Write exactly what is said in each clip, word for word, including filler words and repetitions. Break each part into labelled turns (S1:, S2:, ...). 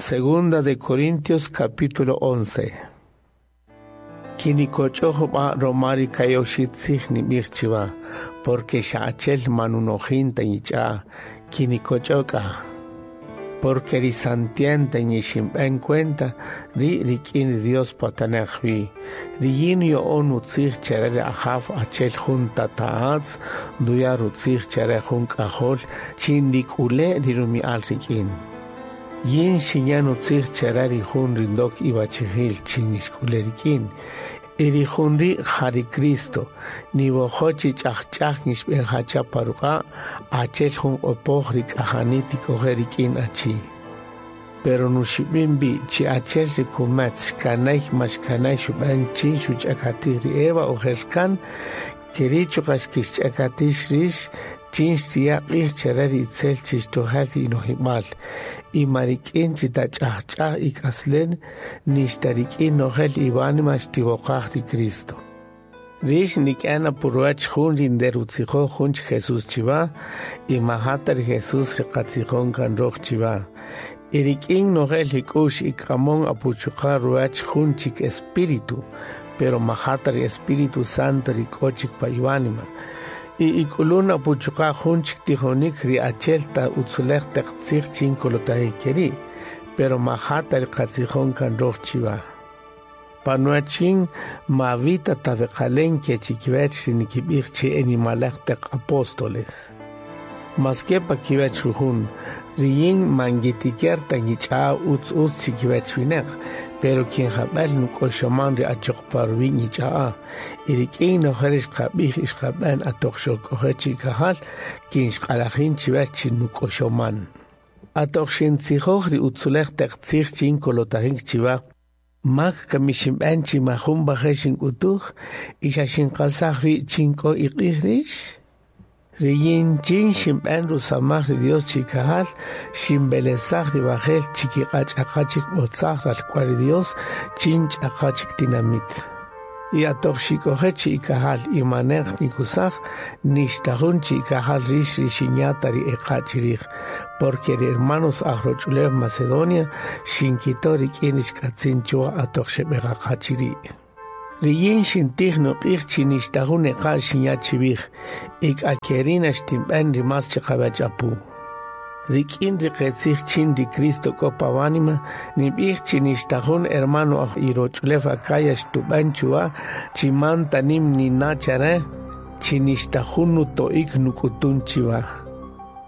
S1: Segunda de Corintios capítulo once. Kinikoch'oj b'a romari kayoshi tzij nib'ij chiwa, porque xa'achel manunojin ta yich'a, kinikoch'oka. Porque ri santienta ñixinb'en cuenta, ri rik'in Dios patanaj wi. Ri yin yo'on utzij chere ri ajaw achel jun tata'atz, duya rutzij chere jun k'ajol, chin rik'ule ri rumi'al rik'in. Yin xinyan utzij chere ri jun rindok ibachijil chin ixk'ule rik'in. Y ri jun ri' ja ri Cristo, niwojo chi ch'ajch'aj nixb'en jacha paruq'a, achel jun q'opoj ri k'ajani tik'oje rik'in achi. Pero nuxib'in bi chi achel ri kumetz xkanay ma xkanay xub'an chin xuch'akatij ri Eva ojer kan, keri chuqa xkixch'akatix rix chin xtiya q'ij chere ri itzel chixtojal ri inojib'al. Y marik'in chi tach'ajch'aj ik'aslen, nixta rik'in nojel iwanima xtiwoqaj ri Cristo. Rix nik'ana purwach jun rinderutzijoj jun chi Jesús chiwa, y majata ri Jesús riqatzijon kan roj chiwa. Y rik'in nojel ik'ux ik'amon apuchuqa ruwach jun chik espíritu, pero majata ri Espíritu Santo rik'ochik pa iwanima. Y ik'ulun apuchuqa jun chik tijonik ri achel ta utzulej teq tzij chin kolotaji keri, pero majata ri qatzijon kan roj chiwa. Panuachin mavita tabeqalen ke chikiwech ri nikib'ij chi enimalej teq apóstoles. Maske pa kiwech jujun, riyin mangitiker ta ñich'a utz utz chikiwech wineq, pero quien jab'el nuk'oxoman ri achoq parwi ñich'a'a, y rik'in nojel ixqab'ij ixqab'en atoq xok'oje chikajal, quien xq'alajin chiwech chi nuk'oxoman. Atoq xintzijoj ri utzulej teq tzij chin kolotajin chiwa, mak kamixinb'en chi majun baje xink'utuj, y xa xinqasaj wi chin k'o iq'ij rix. Riyin chin xinb'en rusamaj ri Dios chikajal, xinb'elesaj ri bajel chikiq'ach'aqachik b'otzaj ralk'wal ri Dios chin ch'aqachik tinamit. Y atoq xik'oje chi ikajal y manej nikusaj, nixtajun chi ikajal rix ri xinyata ri eqa' chirij, porque ri hermanos aj roch'ulew Macedonia xinkito rik'in ixk'atzin chuwa atoq xeb'eqaqa chiri'. Riyin xintij nuq'ij chi nixtajun eqa' xinya chiwij, ik akerina xtinb'en ri mas chiqawach apu. Rik'in ri qetzij chin ri Cristo k'o pawanima, nib'ij chi nixtajun hermano aj iroch'ulew Acaya xtub'en chuwa, chi man tanim nina chare, chi nixtajun nuto'ik nuk'utun chiwa.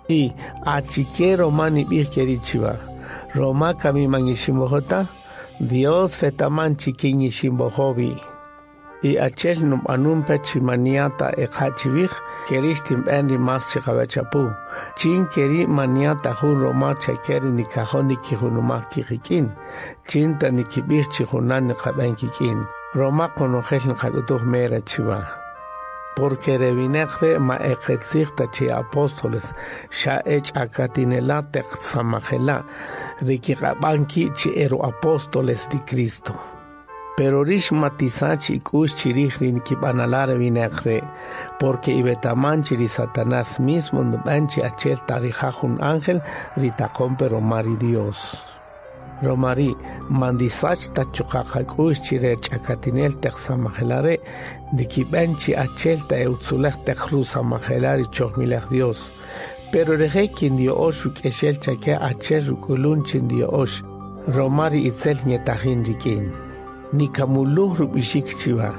S1: Y achike roma nib'ij keri chiwa, roma kami maniximojota, Dios retaman chikin iximbojobi. Y achel nub'anun pe chimaniata eqa chiwij, keri xtinb'en ri mas chiqawach apu. Chin keri maniata jun roma chakeri nikajon nikijunumaj kiqik'in, chin ta nikib'ij chijunan niqab'en kik'in. Roma qonojel niqak'utuj mera chiwa. Porque rewineq re ma eqetzij ta chi apóstoles, xa ech'akatinela teq samajela, rikiq'ab'an ki chi ero apóstoles di Cristo. Pero rix matisach ik'ux chirij ri nikib'anala rewineq re, porque ibetaman chi ri Satanás mismo nub'an chi achel tarija jun ángel ri taqon pe roma ri Dios. Romari mandisach ta chuqa qak'ux chi re ch'akatinel teq samajela re, nikib'en chi achel ta eutzulej teq rusamajela ri chojmilej Dios. Pero reje kin dio'ox ruk'exel chake achel ruk'ulun chin dio'ox, roma ri itzel ñetajin rik'in. Nikamuluj rub'ixik chiwa,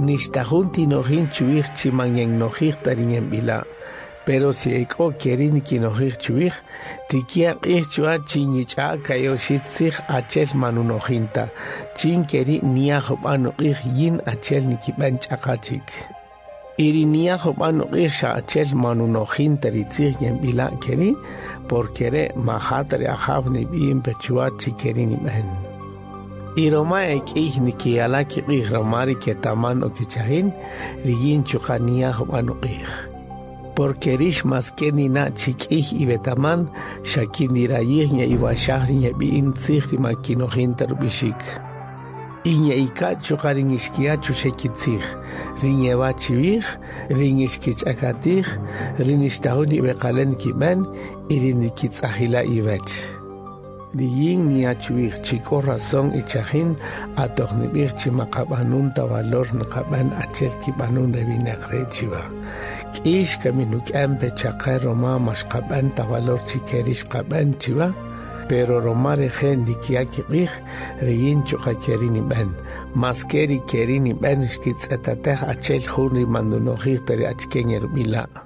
S1: nixtajun tinojin chuwij chi manyenojij tariñenb'ila. Pero si ek'o keri nikinojij chuwij, tikia q'ij chuwa chi ñich'a kayoxi tzij achel manunojinta, chin keri niaj jub'an uq'ij yin achel nikib'en ch'aqachik. Iri niaj jub'an uq'ij xa achel manunojinta ri tzij yenb'ila keri, porque re majata ri ajaw nib'in pe chuwa chi keri nib'en. Y roma ek'ij nikiyala kiq'ij roma ri ketaman o kichajin, riyin chuqa niaj jub'an uq'ij. Porque rix maske nina chik'ij ibetaman, xa kindirayij ña iwaxaj ri ñab'i'in tzij ri makinojinta rub'ixik. Y ña ika chuqa ri nixkiya chuxe kitzij, ri ñewa chiwij, ri nixkich'akatij, ri nixtajun ibeqalen kib'en, y ri nikitz'ajila iwech. Riyin niya chuwij chi k'o razón ichajin atoq nib'ij chi maqab'anun ta valor nqab'an achel kib'anun re winaq re chiwa. K'ix kami nuk'an pe chaqe roma maxqab'an ta valor chi keri xqab'an chiwa, pero roma reje' ndikiya' kiq'ij riyin chuqa' keri nib'an. Mas keri keri nib'an xkitz'etatej achel jun ri mandunojij ta ri achike ngerub'ila'.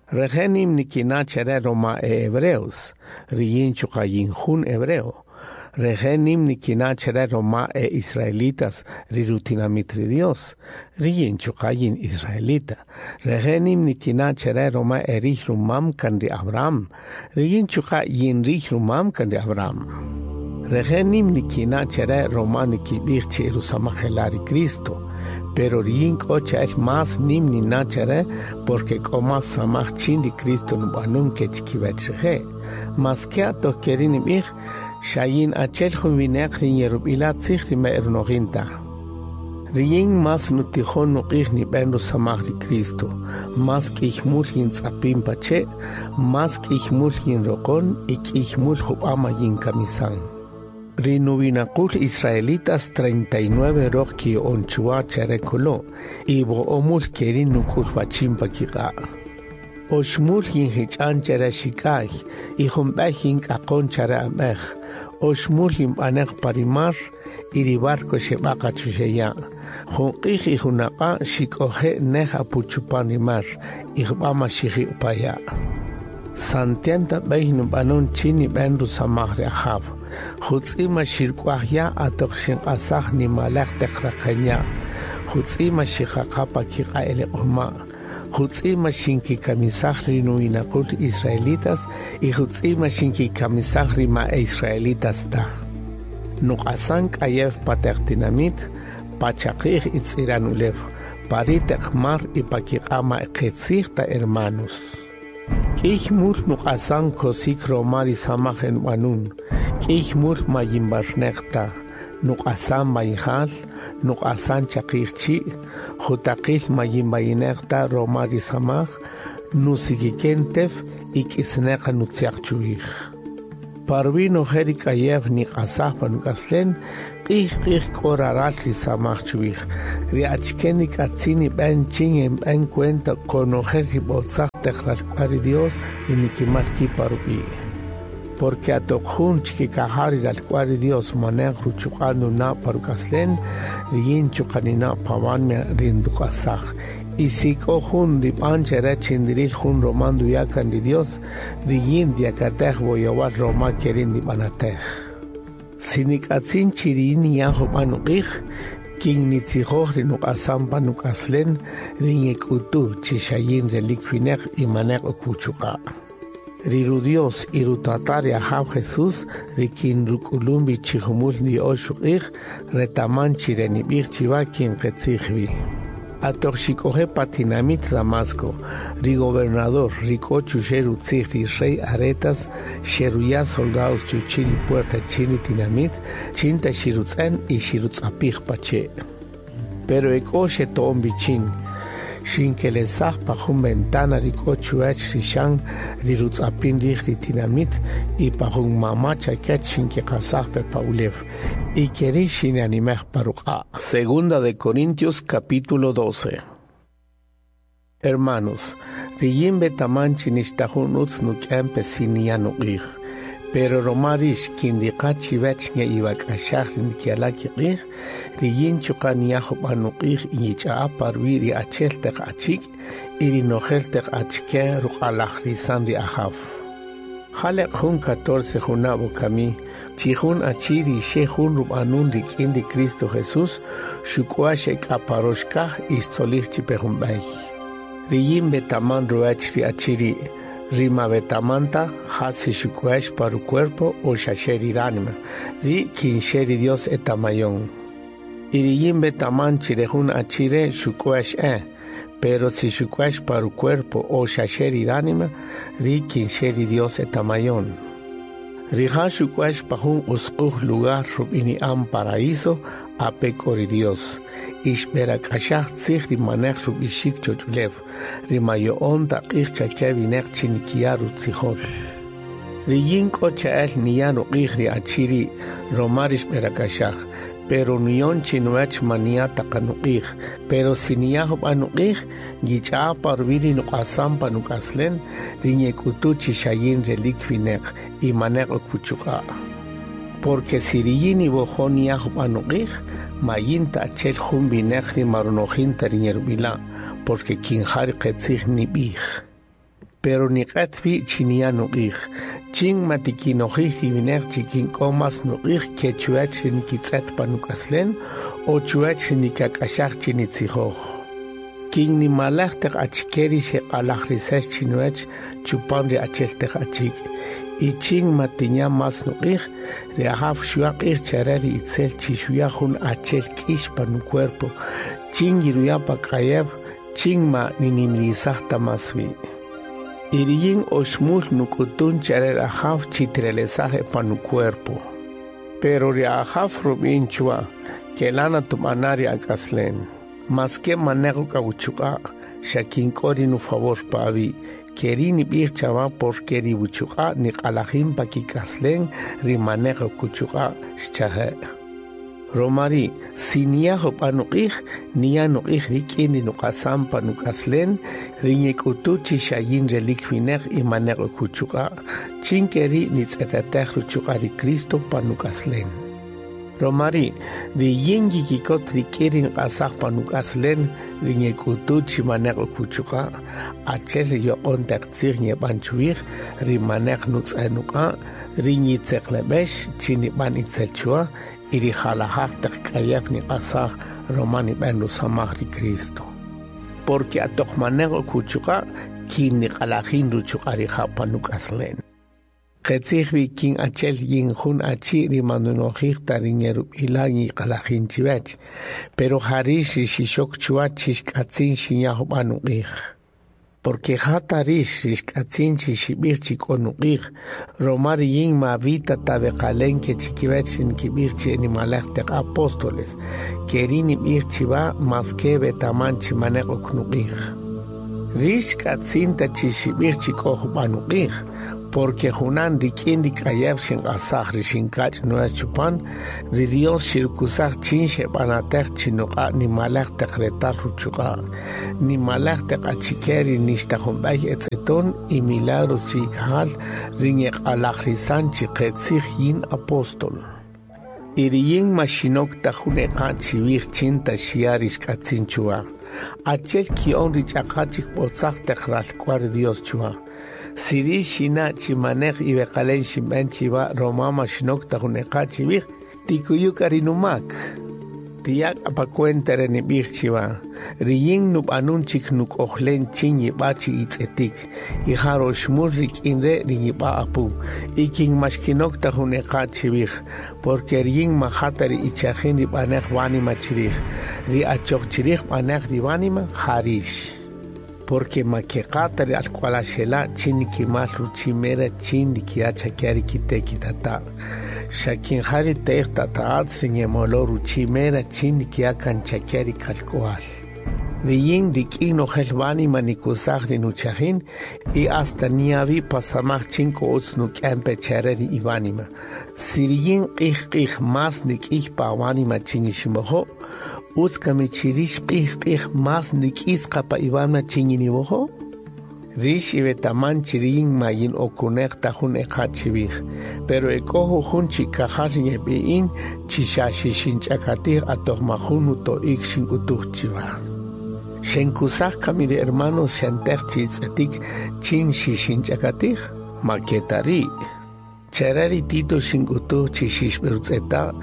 S1: Reje' nim nikina' chere roma e hebreos, riyin chuqa' yin jun hebreo. Reje' nim nikina' chere roma e israelitas ri rutinamit ri Dios, riyin chuqa' yin israelita. Reje' nim nikina' chere roma e rij rumam kan ri Abraham, riyin chuqa' yin rij rumam kan ri Abraham. Reje' nim nikina' chere roma nikib'ij chi rusamajela ri Cristo, pero riyin k'o cha'el más nim nina' chere porque k'o más samaj chin ri Cristo nub'anun ke chikiwach reje'. Mas ke atoq keri nib'ij, xayin achel jun winaq ri yerub'ila tzij ri ma erunojin ta. Riyin más nutijon nuq'ij nib'an rusamaj ri Cristo, más k'ij mul yintz'apin pache', más k'ij mul yinroqon y k'ij mul jub'ama yinkamisan. Ri nuwinaqul israelitas treinta y nueve roq ki'on chuwa chere kolo, y bo'omul keri nuk'ul wachin pa kiq'a'. Oxmul yinjich'an chere xik'ay, y junb'ej yink'aqon chere ab'ej. Oxmul yinb'anej parimar, y ri barco xeb'aqa chuxeya'. Jun q'ij y junaq'a' xik'oje' nej apuchupan ri mar, y jub'ama xiji'paya'. Santienta b'ey nub'anun chin nib'an rusamaj ri Ajaw. Jutz'ima xirk'uaj ya' atoq xinq'asaj nimalej taq raqen ya'. Jutz'ima xiqaqa pa kiq'a' eleq'oma'. Jutz'ima xinkikamisaj ri nuwinaqul israelitas y jutz'ima xinkikamisaj ri ma israelitas ta. Nuq'asan k'ayew pa taq tinamit, pa chaqi'j y tz'iran ulew, pa ri taq mar y pa kiq'a' ma qitzij ta hermanos. K'ij mul nuq'asan kosik roma ri samaj nb'anun. K'ij mul ma yinb'arnej ta. Nuq'asan bayjal, nuq'asan chaqi'j chi', jutaqil ma yinbayinej ta roma ri samaj, nusikiken tef y k'isneqa nutziaq chuwij. Parwi nojel ri k'ayew niq'asaj pa nuk'aslen, q'ij q'ij k'o raral ri samaj chuwij. Ri achike nik'atzin nib'an chin nb'an cuenta konojel ri b'otzaj taq ralk'wal ri Dios ri nikimal ki' pa rub'i'. Porque atoq jun chikikajal ri ralk'wal ri Dios manej ruchuq'a' nuna' pa ruk'aslen, riyin chuqa' nina' pawan ri nduq'asaj. Y si k'o jun ndib'an chere chindiril jun roma nduya' kan ri Dios, riyin ndiyakatej woyowal roma keri ndib'anatej. Si nik'atzin chi riyin niya' jub'an nuq'ij, kin nitzijoj ri nuq'asan pa nuk'aslen, ri ngek'utu chi xayin relik winaq y manej ok wuchuq'a'. Ri ru Dios y rutata ri Ajaw Jesús, ri kin ruk'ulun wi chi jumul ndi'ox ruq'ij, retaman chi re nib'ij chiwa kin qetzij wi. Atoq xik'oje' pa tinamit Damasco, ri gobernador ri k'o chuxe' rutzij ri rey Aretas xeruya' soldados chuchi' ri puerta chin ri tinamit, chin ta xirutz'en y xirutz'apij pache'. Pero ek'o xeto'on bichin, xinkelesaj pa jun ventana ri k'o chuwach ri xan ri rutz'apin rij ri tinamit y pa jun mama chakech xinkiqasaj pe pa ulew. Y keri xinanimej pa ruq'a'. Segunda de Corintios capítulo doce. Hermanos, riyin betaman chi nixta jun utz nuk'an pe siniya nuq'ij. Pero roma rix kindiqa chiwach nge'iwak'axaj ri ndikiala' kiq'ij, riyin chuqa' niya' jub'an nuq'ij y yich'a'a pa ruwi' ri achel taq achik' y ri nojel taq achike ruq'alajrisan ri Ajaw. Jaleq jun catorce junab' wokami, chi jun achi ri xe jun rub'anun rik'in ri Cristo Jesús, xuk'uax xek'aparox kaj y xtzolij chipe jun b'ey. Riyin betaman ruwach ri achi ri', ri ma betamanta ja si xuk'uax pa rucuerpo o xaxe ri ránima, ri kin xe ri Dios etamayon. Y riyin betaman chi re jun achi re' xuk'uax e, pero si xuk'uax pa rucuerpo o xaxe ri ránima, ri kin xe ri Dios etamayon. Rija' xuk'uax pa jun usq'uj lugar rub'ini'an paraíso ape k'o ri Dios. Y xb'erak'axaj tzij ri manej rub'ixik choch'ulew, ri mayo'on ta q'ij chake winaq chi nikiya' rutzijol. Riyin k'o cha'el niya' ruq'ij ri achi ri' roma ri xb'erak'axaj, pero nuyon chinuwech ma niya' ta qa nuq'ij, pero si niya' jub'a' nuq'ij, ngich'a'a pa ruwi' ri nuq'asan pa nuk'aslen, ri nyek'utu chi xa yin relik wineq y maneq ok wuchuq'a'. Porque si riyin niwojo' niya' jub'a' nuq'ij, ma yin ta achel jun wineq ri ma runojin ta ri nyerub'ila', porque kin ja ri qetzij nib'ij. Pero niq'et wi' chi niya' nuq'ij, chin ma tikinojij ri wineq chi kin k'o mas nuq'ij ke chuwech ri nikitz'et pa nuk'aslen o chuwech ri nikak'axaj chi nitzijoj. Kin nimalej taq achike ri xeq'alajrisex chinuwech chupan ri achel taq achik', y chin ma tinya' mas nuq'ij, ri Ajaw xuya' q'ij chare ri itzel chi xuya' jun achel k'ix pa nucuerpo, chin yiruya' pa k'ayew, chin ma ninimrisaj ta mas wi'. Y riyin oxmul nuk'utun chare ri Ajaw chi tirelesaj pa nucuerpo. Pero ri Ajaw rub'in chwa, kelana tub'ana ri ak'aslen. Maske maneq k'awuchuq'a', xa kin k'o ri nufavor pa awi', keri nib'ij chawa porque ri wuchuq'a' niq'alajin pa kik'aslen ri maneq kuchuq'a' xchaje'. Romari, si niya' jub'a' nuq'ij, niya' nuq'ij rik'in ri nuq'asan pa nuk'aslen, ri nyek'utu chi xa yin relik wineq y maneq kuchuq'a', chin keri nitz'etetej ruchuq'a' ri Cristo pa nuk'aslen. Romari, ri yin yikikot rik'in ri nq'asaj pa nuk'aslen, ri nyek'utu chi maneq kuchuq'a', achel ri yoq'on taq tzij nyeb'an chuwij, ri maneq nutz'e nuq'a', ri nyitzeqleb'ex chi nib'an itzel chwa, y ri jalajaj taq k'ayew niq'asaj roma nib'an rusamaj ri Cristo. Porque atoq maneq kuchuq'a', kin niq'alajin ruchuq'a' rija' pa nuk'aslen. Qetzij wi kin achel yin jun achi ri manunojij ta ri nyerub'ila' nyiq'alajin chiwech, pero jarix ri xixok chwa chi xk'atzin xinya' jub'a' nuq'ij. Porque jata rix ri xk'atzin chi xib'ij chi k'o nuq'ij, roma ri yin ma vita ta beqalen ke chikiwech ri nkib'ij chi nimalej taq apóstoles, keri nib'ij chiwa mas ke betaman chi maneq ok nuq'ij. Rix k'atzin ta chi xib'ij chi k'o jub'a' nuq'ij, porque junan rik'in ri k'ayew xinq'asaj ri xinkach' nuwech chupan, ri Dios xirkusaj chin xeb'anatej chi nuq'a' nimalej taq retal ruchuq'a', nimalej taq achike ri nixta junb'ey etz'eton y milagros chi ikajal ri nyeq'alajrisan chi qetzij yin apóstol. Y ri yin ma xinok ta jun eqa' chiwij chin ta xiya' ri xk'atzin chuwa. Achel ki'on ri ch'aqa chik b'otzaj taq ralk'wal ri Dios chuwa. Si ri xina' chi maneq iweqalen xinb'en chiwa roma ma xinok ta jun eqa' chiwij, tikuyu k'a ri numak. Tiyak' pa cuenta re nib'ij chiwa, ri yin nub'anun chik nuk'ojlen chin yib'a chi itz'etik, y ja roxmul rik'in re' ri yib'a apu, y kin ma xkinok ta jun eqa' chiwij, porque ri yin ma ja ta ri ichajin ri b'anej wánima chirij, ri achoq chirij b'anej ri wánima jarix. Porque ma keqata ri alk'walaxela' chin nikimal ruchimera chin nikiya' chakya ri kite' kitata'. Xa kin ja ri te'ej tata'atz ri nyemolo ruchimera chin nikiya' kan chakya ri kalk'wal. Ri yin rik'in nojel wánima nikusaj ri nuchajin y hasta niavi pasamaj chin k'o utz nuk'en pe chare ri iwánima. Si ri yin q'ij q'ij mas nik'ij pa wánima chin iximojo', utz kami chirix q'ij q'ij mas nik'is qa pa iwánima chin yiniwojo'. Rix iwetaman chi riyin ma yin okuneq ta jun eqa' chiwij, pero ek'o jujun chikajal yeb'i'in chi xa xixinch'akatij atoq ma jun nuto'ik xink'utuj chiwa. Xenkusaj kami ri hermanos xentej chi itz'etik chin xixinch'akatij, ma keta ri'. Chare ri Tito xink'utuj chi xixb'erutz'eta'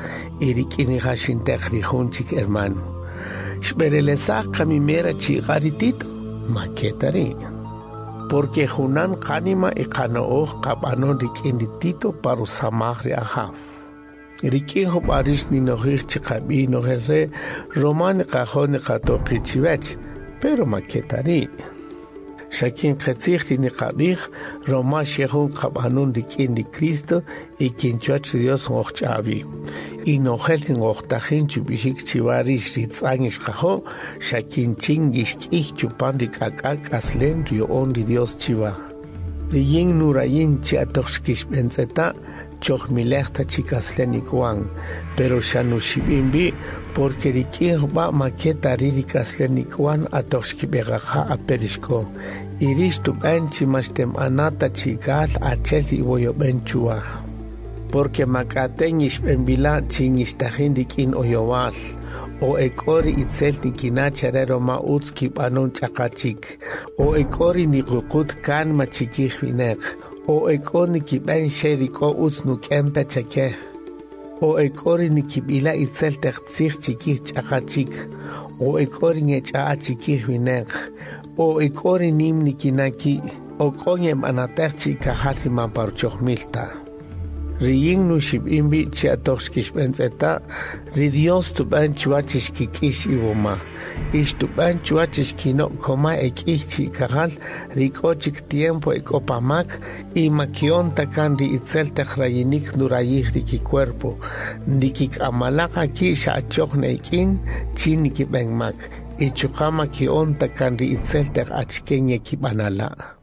S1: y rik'in rija' xintej ri jun chik hermano. Xb'erelesaj kami mera chiqa ri Tito, ma keta ri'. Porque junan qanima y qano'oj qab'anon rik'in ri Tito pa rusamaj ri Ajaw. Rik'in jub'a' rix ninojij chi qab'i nojel re' roma niqajo' niqatoqi chiwech, pero ma keta ri'. Xa kin qetzij ri niqab'ij roma xe jun qab'anun rik'in ri Cristo y kin chuwach ri Dios ngojch'awi. Y nojel ri ngojtajin chub'ixik chiwa rix ri tz'an ixqajo', xa kin chin yixk'ij chupan ri k'ak'ak' k'aslen riya'on ri Dios chiwa. Riyin nurayin chi atoq xkixb'entz'eta' chojmilej ta chi k'aslen ik'wan, pero xa nuxib'in wi' porque rik'in jub'a' ma ke ta ri' ri k'aslen ik'wan atoq xkib'eqaqa ape' rixk'o. Y rix xtub'en chi ma xtenb'ana' ta chi'ikajal achel ri iwoyob'en chuwa. Porque ma k'ate' nyixb'enb'ila' chi nyixtajin rik'in oyowal, o ek'o ri itzel nikina' chare roma utz kib'anon ch'aqa chik, o ek'o ri niququt kánima chikij wineq, o ek'o nikib'en xe ri k'o utz nuk'en pe chake, o ek'o ri nikib'ila' itzel taq tzij chikij ch'aqa chik, o ek'o ri ngech'a'a chikij wineq, o ek'o ri nim nikina' ki', o k'o ngeb'anatej chi'ikajal ri man pa ruchojmil ta. Riyin nuxib'in wi' chi atoq xkixb'entz'eta', ri Dios xtub'en chuwa chi xkik'ix iwoma, y xtub'en chuwa chi xkinok koma ek'iy chi'ikajal ri k'o chik tiempo ek'o pa mak y ma kiyon ta kan ri itzel taq rayinik nurayij ri kicuerpo, ndikik'amalaqa ki' xa achoq ne'ik'in chin nikib'en mak, y chuqa' ma kiyon ta kan ri itzel taq achike ngekib'anala'.